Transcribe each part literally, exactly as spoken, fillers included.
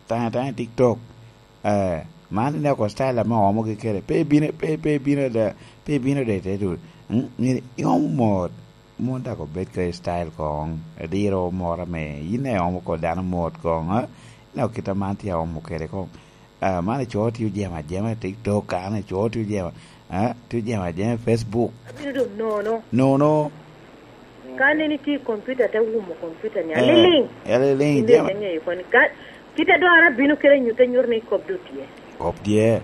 Tanya tanya i TikTok. Eh, man ine oko style ame oomogi kede. Pe ibino, pe, pe ibino da, pe ibino da ite tu. Mm, myero iomo mot. Mon dako bed ka style kong. Diro moro ame yin iomo ko dano mot kong, eh? Ine oko kit a man tye aomo kede kong. Ah, man ico tye ojemo ajema i TikTok, kan ico tye ojemo, eh? Tye ojemo ajema i Facebook. Abino dong nono. Nono. Ka aneni tye i kompiuta, te wumo kompiuta ni, eh, aliliŋ. Aliliŋ, inde jema. Ite ŋeyo koni. Ka, kit a dwara bino kede nyutte nyuto ni kop do tye. Kop tye.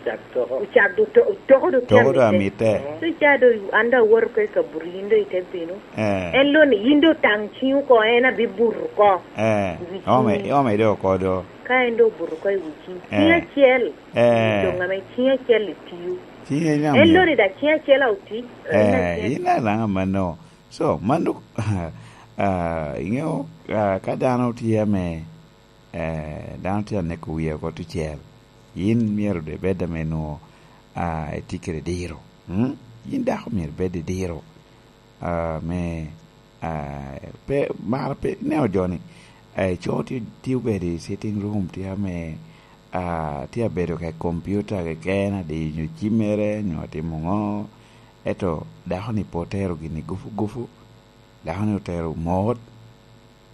Ocak do to-, toko do tye. Toko do amitte. Amitte. So ca do an do awoto ka i kaburi, yin do ite bino. Eh. En lo ni, yin do taŋ ciŋ oko, en abi buto oko. Eh. I wi ciŋ. Ome, ome do oko do. Ka en do obuto oko i wi ciŋ. Eh. Ciŋ acel. Eh. Doŋ ame ciŋ acel itiyo. Ciŋ acel. En lo ni da ciŋ acel a oti. Eh, yin alaŋa mano. So, mano, ah, iŋeo, ah, ka dano tye ame, eh, dano tye aneko wie oko tucel, yin myero de bed ame nwo, ah, itye kede diro. Mm? Yin dako myero bed i diro, ah, me, ah, pe, mar pe, ineno jo ni, eh, co tye, tye obedo i sitting room, tye ame, ah, tye abedo ka i kompiuta keken, adiyo cimmere, nyo atimo ŋo, ento dako ni pe otero gini gufu gufu, dako ni otero mot,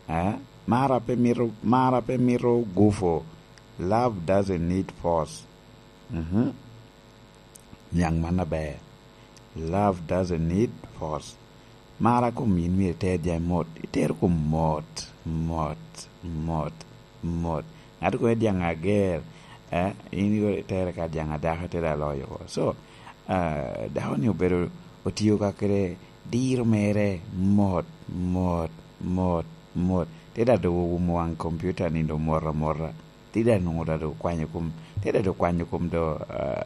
eh? Mar a pe mito, mar a pe mito gufu. Love doesn't need force. Mhm. Niaŋ man aber. Love doesn't need force. Mar a kom yin myero iter jami mot. Itero kom mot, mot, mot, mot. Ŋat kono idyaŋ ager, eh, in itere ka dyaŋ adako ite da loyo oko. So, ah, dako ni obedo otio ka kede diro mere mot, mot, mot, mot. Te da dogo wumo waŋ kompiuta ni do mot amota. Te da nwoŋo da do kwanyo kom, te da do kwanyo kom do, ah,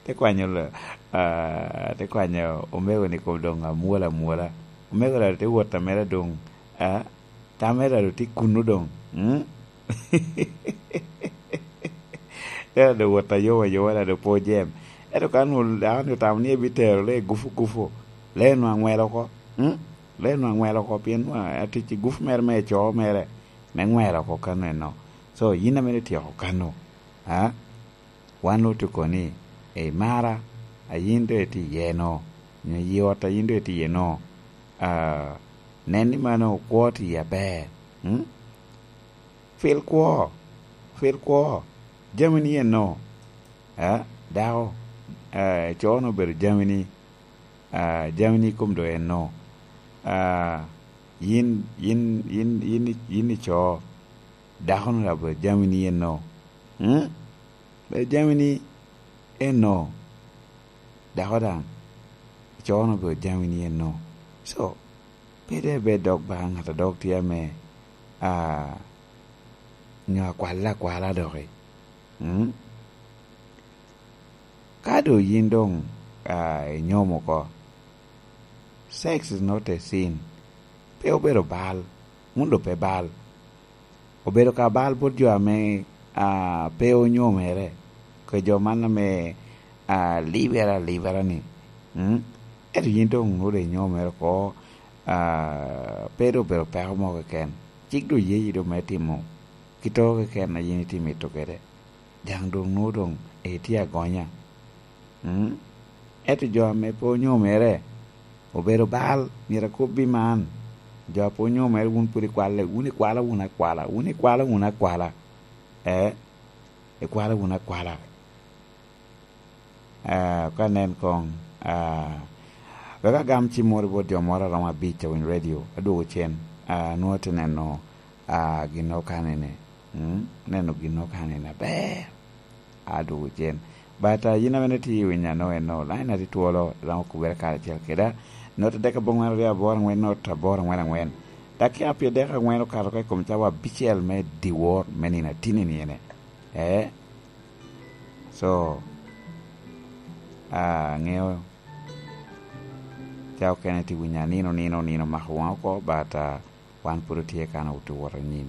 te kwanyo lo-, ah, te kwanyo omego ni kom doŋ amwola amwola. Omego da te wot amera doŋ, ah, Tamera do tye kuno doŋ. Mm? Ento doŋ wot ayoma ayoma, doŋ pe ojem. Ento ka nwo dako ni otamo ni ebitero lee gufu gufu, lee nwa aŋwelo oko. Mm? Lee nwa aŋwelo oko, pien nwa atic i gufu mere me co mere, me ŋwelo oko kano eno. So, yin ame ityeko kano, a? Wan otuko ni, "Ei, mara, a yin doŋ itye iye no, nyo yi ot a yin doŋ itye iye no, ah, nen ni mano okwo tye aber." Mm? Pil kwo, pil kwo, jamini eno, ah, dako, ah, co-nu obedo jamini, ah, jamini kom doŋ eno, ah, yin, yin, yin, yin, yin ico, dako-nu daŋ obedo jamini eno. Mm? Ber jamini eno, dako daŋ, icono ber jamini eno. So, pe de ber dok ba ŋat a dok tye ame, ah, nyo akwalla akwala doki. Mm? Ka doŋ yin doŋ, ah, inyomo oko, sex is not a sin. Pe obedo bal, wun doŋ pe bal. Obedo ka bal bot jo ame, ah, pe onyomere, kede jo man ame, ah, libere alibera-ni. Mm? Ento yin doŋ nwoŋo doŋ inyomere oko, ah, pe doŋ obedo peko mo keken. Cik doŋ yeyi doŋ me timo kit oko keken a yin itye mito kede. Daŋ doŋ nwoŋo doŋ itye agonya. Mm? Ento jo ame pe onyomere, obedo bal, myero akobbi man. Jo a pe onyomere, wun pwod ikwalle, wun ikwalo wun akwala, wun ikwalo wun akwala. Eh, ikwalo wun akwala. Ah, ka nen koŋ, ah, wek agam cimmoro bot jo moro a romo abic a winyo redio, adwogo cen, ah, nwoŋo ate neno, ah, ginnoro kanene. Mm? Neno ginnoro kanene aber. Adwogo cen. But, ah, yin ame itye i winyo ano eno, line-na tye twolo, iromo kubere karacel keda. Nota dek aboŋwen aryo aboro aŋwen, nota aboro aŋwen aŋwen. Dakika pyerdek aŋwen okato oko i kom cawa abicel me dyewor me nino atinni-ni ene. Eh? So, ah, aŋeo ca okene tye winyo anino, nino, nino mako waŋ oko, but, ah, wan pwod otye kan owuto wot anyim.